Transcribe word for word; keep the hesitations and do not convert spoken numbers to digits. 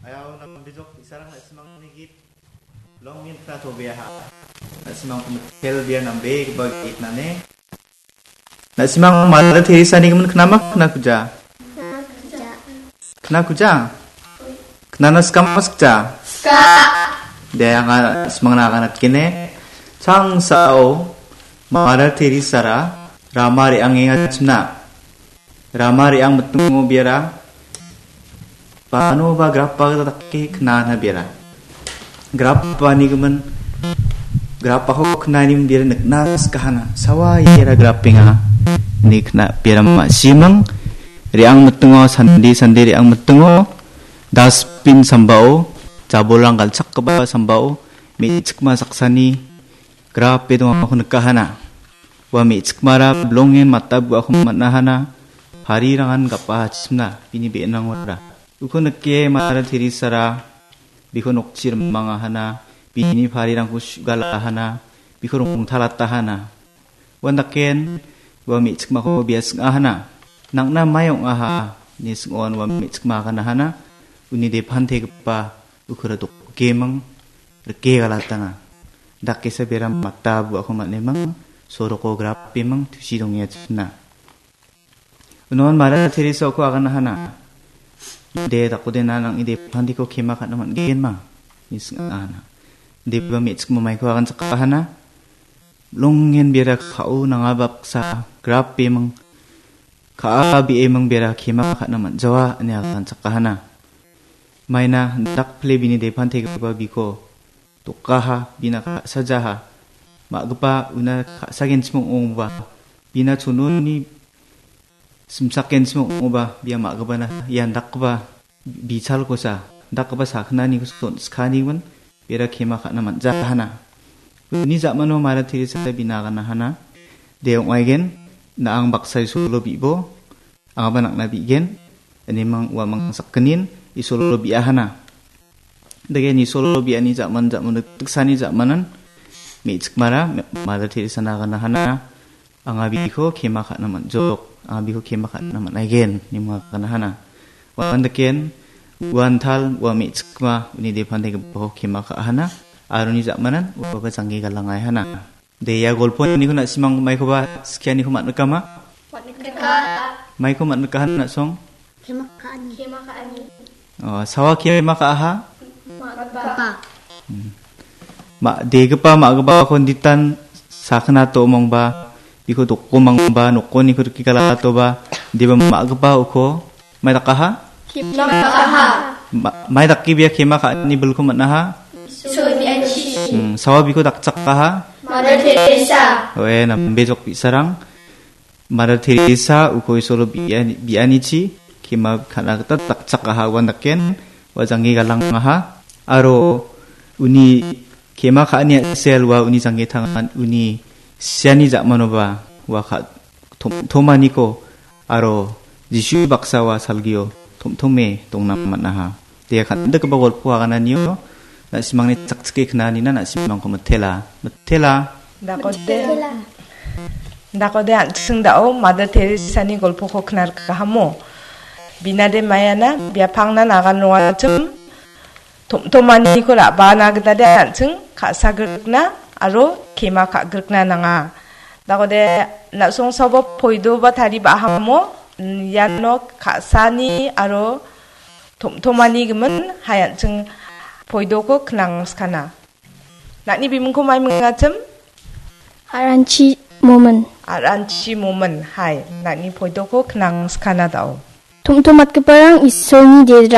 Aro nambejok bi·sarang na·simangni git long min kna tobeaha. Na·simangko mitel bia nambegipa git nane. Na·simang Mother Teresa-ni gimin knama kna kuja? Kna kuja? Knana skama skja? Ska. De, anga na·simangna aganatgene. Changsao Mother Teresa-ra rama re·angenga chimna. Rama re·ang mitingo biara. Bano ba grapa gita dake knana biara. Grapani gimin, grapako knani biara nikna skahana. Sawa iera grapenga. Ni kna biara ma·simang. Re·ang mitingo, sande, sande re·ang mitingo. Dustbin sambao, jabolrang galchakgipa sambao, me·chikma saksani grape dongako nikahana. Ua me·chikmara bilongen mata bu·ako man·ahana. Parirangan gapachimna bini be·enrangora. Uko nike Mother Teresa-ra biko nokchi rimangahana. Bini parirangko su·galahana. Biko rongtalatahana. Uandaken ua me·chikmako bia sing·ahana. Nang·na mai ong·aha, ine sing·on ua me·chikma aganahana. Uni depantegipa ukura dokgeming rike galatanga. Dakesa bera mata bu·ako man·eming, soroko grapeming tusi dongenga china. Unon Mother Teresa-ko aganahana. De, dakode na nang·ni depanteko kema ka·na man·genma, ine sing·ahana. Deba me·chikma maiko aganchakahana. Longen bera ka·o nanga baksa grapeming ka·a be·eming bera kema ka·na man·jawa ine aganchakahana. Maina dakple bini depantegipa biko dokaha, bina ka·sajaha. Ma·gipa una ka·sagenchim ong·ongba, bina chononi simsakenchim ong·oba, bia ma·gipana ian dakgipa bichalkosa, dakgipa sakgnanikosa on·skanigimin bera kema ka·na man·jahana. Uni ja·mano Mother Teresa bina aganahana. De ong·aigen, na·ang baksa Isolo bi·bo, angaba nang·na bi·gen, inemang uamang sakgnin Isolo bi·ahana. Dake Isolo bi·ani ja·man, ja·man, tiksani ja·manan me·chikmara Mother Teresa-na aganahana. Anga biko kema ka·na man·jok. Anga biko kema ka·na man·aigen, ine aganahana. Uandaken, uantal, ua me·chikma, uni depanteko kema ka·ahana. Aro uni ja·manan, uaba janggi galangaihana. De, ia golponiko na·simang maikoba skianiko man·rikama? Man·rika. Maiko man·rikahan na·song? Kema ka·ani. Kema ka·ani. Oh, sawa kema ka·aha? Ma·gipa. Hmm. Ma-, degipa ma·gipako ditan sakgnato omongba, biko dokomangba, nokoniko rike galatoba, deba ma·gipa uko mai dakaha? Kema ka·aha. Ma-, mai dake bia kema ka·ani bilko man·aha? Isol bi·anichi. Hmm, sawa biko dakchakaha? Mother Teresa. Oe, nambejok bi·sarang. Mother Teresa uko Isolo bi·ani-, bi·anichi kema ka·na gita dakchakaha uandaken ua janggi galangaha. Aro uni kema ka·ani a·sel ua uni janggi tangan uni siani ja·manoba ua ka-, tom-, tomaniko aro Jisu baksa ua salgio tom·tome dongna man·aha. Dia kan·dikgipa golpo agananio na·simangni chakchike knanina na·simangko mitela. Mitela. Dakode, dakode an·ching da·o Mother Teresa-ni golpoko knarkahamo. Binade maiana biapangna nagan rongachim. Tom-, tomaniko ra·bana gita de an·ching ka·sagrikna aro kema ka·grikna nanga. Dakode na·songsoba poidoba tariba ahamo, iano ka·sani aro tom-, tomani gimin hai an·ching poidoko knangskana. Na·ni bimingko mai mingachim? Aranchi Momin. Aranchi Momin, hai. Na·ni poidoko knangskana da·o. Tom·tomatgiparang Isolni derang.